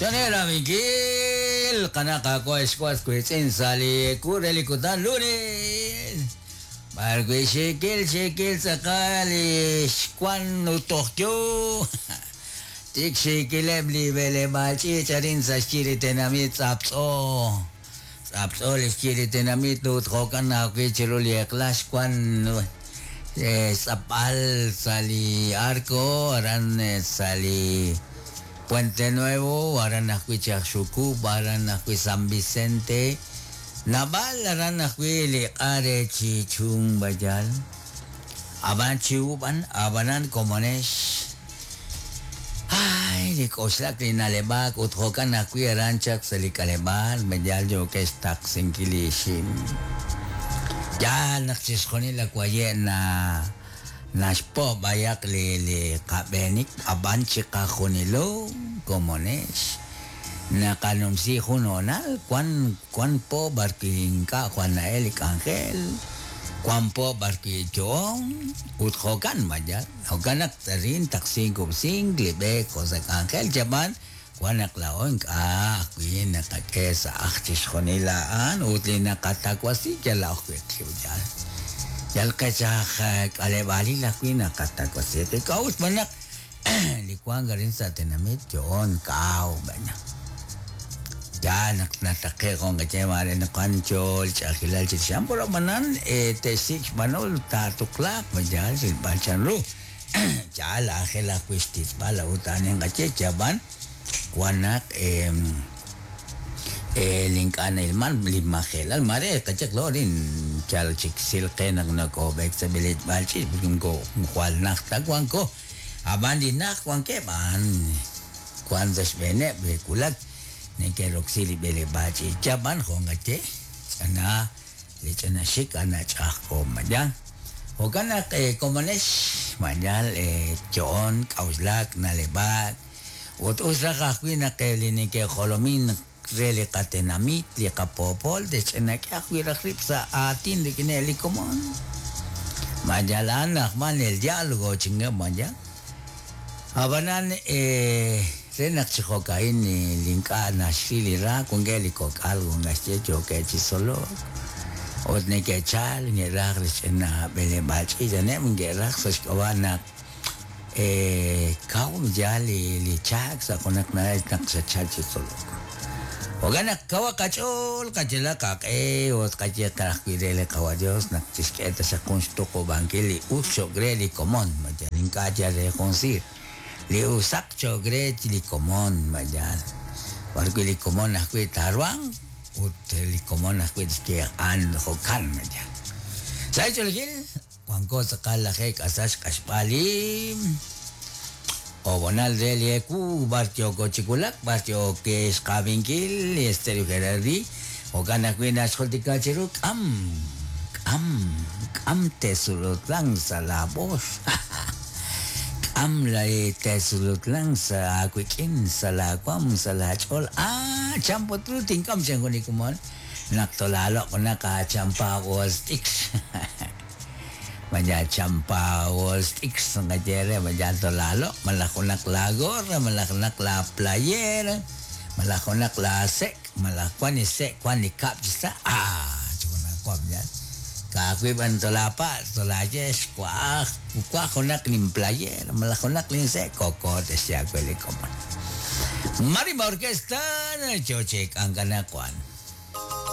Chane rab'inkil qana' qaawa' ex was wiitz'in sa' li ewu re li kutan lunes b'arwi' xiikil xiikil tz'aqal li xwan ut toj yoo tik xiikileb' li b'eleb'aal ch'iich' arin sa' xyi li tenamit tz'aptz'o tz'aptz'o li xyi li tenamit ut jo'kan ajwi' chiru li eq'la xwan xtz'apb'al sa' li arco aran sa' li Puente Nuevo, aran ajwi' Chajxukub', aran ajwi' San Vicente, naab'al aran ajwi' li q'a re Chichun Bayal. Ab'an chiwub'an, ab'anan komonex. Ay, li k'oxlak li na'leb'ak ut jo'kan ajwi' aran chaq sa' li k'aleb'aal, Bayal yookex xtaqsinkil li ixim. Yaal naq chixjunil a waye' na Naxpo' b'ayaq li li qab'eenik ab'an chiqajunilo komonex naqanumsi jun hoonal wan wan po b'arwi' ink'a' jwal na'el li k'anjel, wan po b'arwi' yo'on ut jo'kan mayal jo'kan naq arin taqsink kub'sink li b'eek jo' sa' k'anjel chab'an wan naq laa'o ink'a' ajwi' naqak'e sa' ajl chixjunil a'an ut li naqatawasi yal ajwi' qib' yal yal qech aj k'aleb'aalil ajwi' naqatawasi qib' k'a'ut xb'aan naq li wank arin sa' tenamit yo'on kaw b'ayaq yaal naq nataqe'k jun qaye maare naq wan yo li ch'a'ajkilal chirix a'an pero ab'anan te'xsik' xb'anol taatuqlaaq yaal rilb'al chanru. Yaal aajel ajwi' xtitz'b'al a'ut a'an inqaye yab'an wan naq li ink'a' na'ilman li majelal maare qayehaq laa'o arin yal chik sil qe naq nakoob'eek sa' b'eleb'aal ch'iich' porque moko jwal najt ta wanko ab'an li najt wankeb' a'an wan sa' xb'eeneb' re wulak neke'roksi li b'eleb'aal ch'iich' yab'an jo' nqaye ch'ana Li ch'ina xik a'an nach'a'ajko'k mañan. Jo'kan naq komonex mañal yo'on, k'a'uxlak, na'leb'aak, ut us raj ajwi' naq li neke'jolomin re li qatenamit, li qapoopol, te'xch'inak'e ajwi' raj rib' sa' aatin rik'ineb' li komon. Mañal a'an na'ajman el diálogo chinkeb' mañan. Ab'anan re naq chi jo'ka'in li ink'a' naxril li ra, wankeb' li kok'al naxye yookeb' chi tzolok ut neke'chal neke'raj li ch'ina b'eleb'aal ch'iich' aneb' neke'raj sa' xk'ab'a' naq kaw yaal li chaak sa' junaq na'ajej naq xatchal chi tzolok. Jo'kan naq kawaq qach'ool, qayalaq qaq'e ut qayehaq ajwi' re li Qawa' Dios naq chixk'e taxaq jun xtuqub'ankil li us cho'q re li komon, ma yal ink'a' yal re jun siir, li usaq cho'q re li komon, ma yal b'ar wi' li komon ajwi' taaruhanq ut li komon ajwi' tixye a'an jo'kan, ma yal. Sa' xch'oolejil, Wanko tz'aqal lajeeb' k'asal xq'axb'al li ob'onal re li ewu b'ar yooko chi wulak, b'ar yook xqab'inkil li Estéreo Gerardi, jo'kan ajwi' naxjultika chiru k'am, k'am, k'am tesulutlan sa' laab'ox, k'am li tesulutlan sa' aawik'in, sa' laawaam, sa' laach'ool, ah, chan put ru tink'am chan jun li komon. Naq tolaaloq' junaq aachampa Wall Street, malaj champa Wall Street naqaye re, malaj tolaaloq' malaj junaq laagorra, malaj junaq laaplayera, malaj junaq laasek', malaj wank li sek' wank li kab' chi sa', aah chi junajwa yaal. Ka'ajwi' b'an tolaapatz', tolaaye xwa'aj, waj junaq linplayera malaj junaq linsek', koko te'xye aawe li komon. Marimba Orquesta, yo chi k'ankalak wan.